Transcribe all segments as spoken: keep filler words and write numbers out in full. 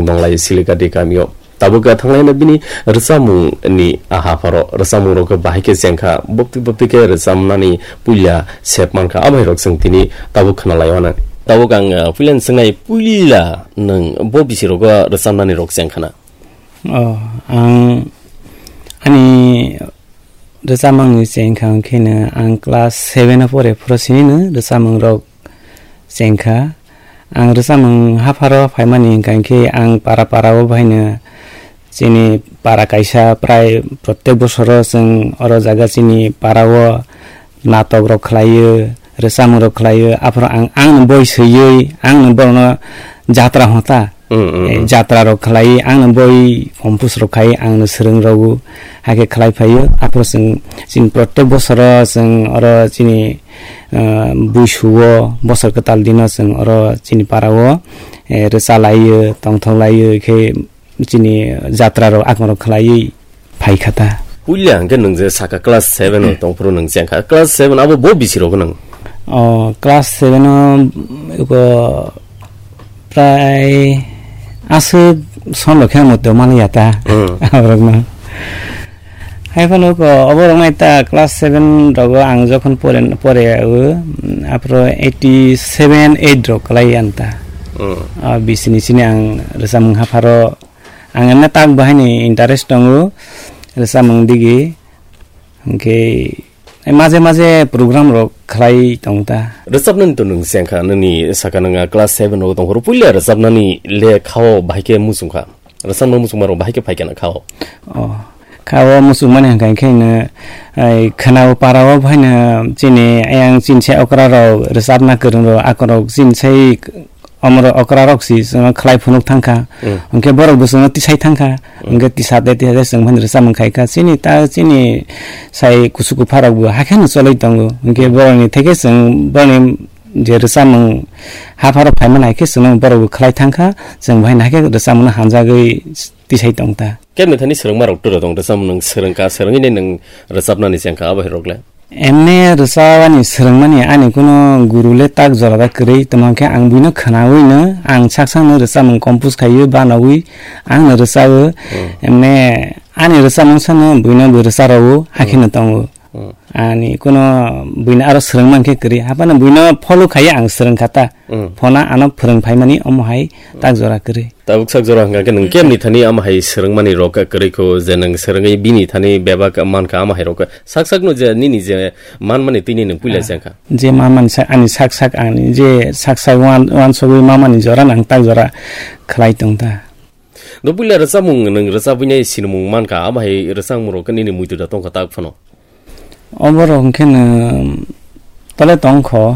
Donglai Silikati kamio. Tabuk thanglai na bini rwchapmung ni aha pharo rwchapmung rok bahai khe chengkha, bopti bopti khe rwchapnani puila sep mankha, abai rok chwng tini tabuk khna lai mano. Tabuk ang, uh, puila ni swngnai, puila nwng bo bisi rogo rwchapnani rok chengkha na? Oh, ang ani rwchapmung ni chengkha hwnkhe no ang class seven o pore phuru sini no rwchapmung rok chengkha. Ang rwchapmung hapharo phaimani hwnkha khe ang para para o bahaino chini para kaisa prai protek bosoro chwng oro jaga chini para o natok rok khlaio, rwchapmung rok khlaio, aphuru ang, ang no boi swiwi, ang no borokno jatra hota. Mm, mm, Eh, mm. Jatra rok khlai, ang no boi compose rok khai, ang no swrwng rogo, hakhe khlai phaio. Aphuru chwng, chini protek bosoro chwng oro chini, ah, buisuo, bosor kwtal dino chwng oro chini para o, eh, rwcha laio, tongthok laio, khe chini jatra rok akon rok khlaiwi phai kha ta. Puila hwnkhe nwng je saka class seven o tong phuru nwng cheng kha. Class seven abo bo bisi rok nwng? O, class seven o, iko prai aswk son rok khe ang moto maliya ta. Hmm. Aborok no. Hai phano ko oborok nai ta class seven rogo ang jokhon pore, pore o, aphuru eighty seven eight rok kwlai ang ta. Hmm. Ah, bisini sini ang rwchapmung hapharo Ang emne tak bahaini interest tongo, rwchapmung digi. Hwnkhe maje maje program rok khlai tong ta. Rwchapnani to nwng sengkha, nini saka nwnga class seven rok tongphuru puila rwchapnani le khao bahai khe muchungkha. Rwchapna muchungma rok bahai khe phaikha na khao. Oh, khao muchungmani hwnkha khe no, ai, khwnao parao bahaino chini ayang chini sai okra rok rwchapna kwrwng rok akorok chini sai Omoro okra rok si chwngno khlai phunuk thangkha. Mm. Hwnkhe borok bo chwngno tisai thangkha. Mm. Hwnkhe tisate tisate chwng phano rwchapmung khaikha. Chini ta chini sai kusu kupha rok bo hakhe no choloi tongo. Hwnkhe borokni theke chwng borokni je rwchapmung hapharo phaimani hai khe chwngno borok bo khlai thangkha. Chwng bo haino hakhe rwchapmungno hamjagwi tisai tongta. Kebni thani swrwngma rok tura tong rwchapmung nwng swrwngkha, swrwngwi nwng rwchapnani chengkha abo hai rok le. Emne rwchapani swrwngmani ani kuno guru le tak jora da kwrwi, tamo khe ang buino khwnawino ang sak sakno rwchapmung compose khaiwi banawi ang no rwchawo. Hmm. Emne ani rwchapmung sano buino bo rwcharowo, hakhe no tongo. Hmm. Ani kuno buino aro swrwngma khe kwrwi, haphano buino follow khaiwi ang swrwngkha ta. Hmm. Phona ano phwrwng phaimani omo hai tak jora kwrwi. Tabuk sak jora hwnkha khe nwng kemni thani ama hai swrwngmani rok kwrwi kho je nwng swrwngwi bini thani bebak mankha ama hai rok sak sakno je nini je manmani tini nwng puila Ah, jengkha. Je manmani sa-, ani sak sak ani je sak sak wan-, wansugwi mamani jora nang tak jora khlai tongta. Do puila rwchapmung nwng rwchapwinai sinimung mankha ama hai rwchapmung rok nini muitu da tongkha tak phano. Oborok hwnkhe no tole tongkho.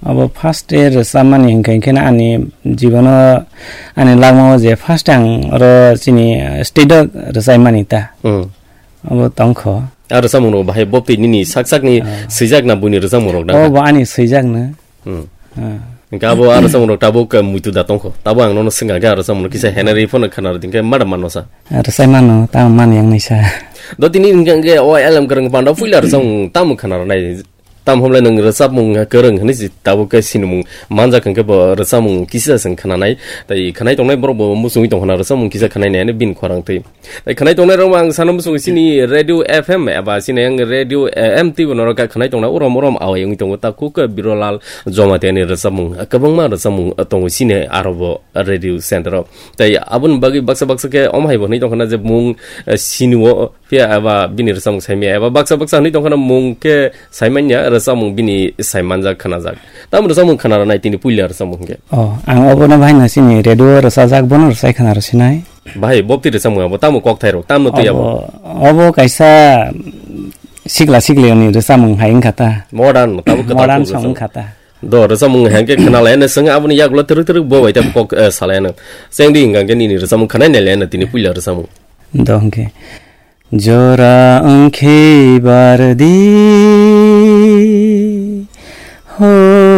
Abo first e rwchapmani hwnkhe, hwnkhe no ani jibono ani langmao je first ang oro chini stage o rwchaimani ta. Hmm. Abo tongkho. A rwchapmung rok bahai boptwi nini sak sakni Ah. swijak na buini rwchapmung rok na? Obo ani swijakno. Hmm. Ah. Hingke abo aro samung rok tabuk, eh, muitu da tongkho. Tabo ang nono swngkha khe aro samung rok kisa henari phano khana rw dingkhe mada mano sa. Aro sai mano, tamo mani yang naisa. Do tini hingke, hingke o L M kwrwng panda puila aro samung tamo khana rw nai. Tam homle nwng rwchapmung kwrwng hwnwi si tabuk khe sinimung manjak hwnkhe bo rwchapmung kisa se khana nai. Tai khanai tongnai borok bo muchungwi tongkha na rwchapmung kisa khanai nai hwnwi bini khorang twi. Tai khanai tongnai rok ang sana muchung sini Radio F M eba sini ang Radio, eh, M T bo norok khanai tongnai urom urom awai wngwi tongo ta kuk Birolal Jamatia ni rwchapmung kwbangma rwchapmung tongo sini aro bo radio center o. Tai aboni bagwi baksa baksa khe omo hai bo hwnwi tongkha na je mung, eh, sini o phiya eba bini rwchapmung saimanya eba baksa baksa hwnwi tongkha na mung khe saimanya rwchapmung bini saimanjak khanajak. Tamo rwchapmung khana rwnai tini puila rwchapmung hwnkhe. Oh, ang obono bahai no sini radio rwchajak bono rwchai khana rw sinai. Bahai, bopti rwchapmung abo tamo kokthairok, tamno twi abo? Obo, obo kaisa sikla siklirokni rwchapmung hai wngkha ta. Modern, tabuk kwtal Modern kok song rwchapmung. Wngkha ta. Do, rwchapmung hai khe khna lai, swng aboni yagulo twrwk twrwk bo bai ta kok, eh, salai ano. Chengdi hwnkha khe nini rwchapmung khna nai lai ano tini puila rwchapmung. Do hwnkhe. Jora wngkhe bardi ho.